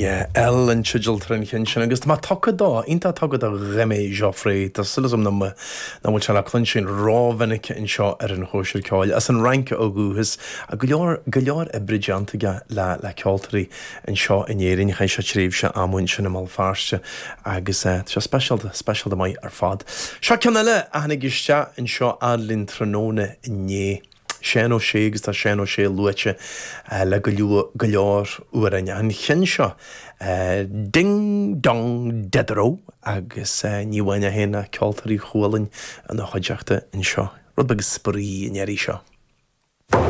Yeah, Elle an teideal atá ar an cheann sin agus tá mé tugtha dó, iontach tugtha do Rémi Geoffray. Tá súil agam nach bhfuil sé le cluinstin rómhinic anseo ar an Chóisir Ceoil. As an Fhrainc ó dhúchas, go leor, go leor oibre déanta aige le, le ceoltóirí anseo in Éirinn. Chaith sé tréimhse ama ansin i mBéal Feirste agus tá sé speisialta, speisialta maith ar fad. Seo ceann eile a tháinig isteach anseo fhad linn tráthnóna inné. Seán Ó Sé agus tá Seán Ó Sé luaite le go leor, go leor amhráin. An cheann seo, Ding Dong Diderot agus ní amháin é féin ach ceoltóirí Chualann ina chuideachta anseo. Rud beag spraoi an iarraidh seo.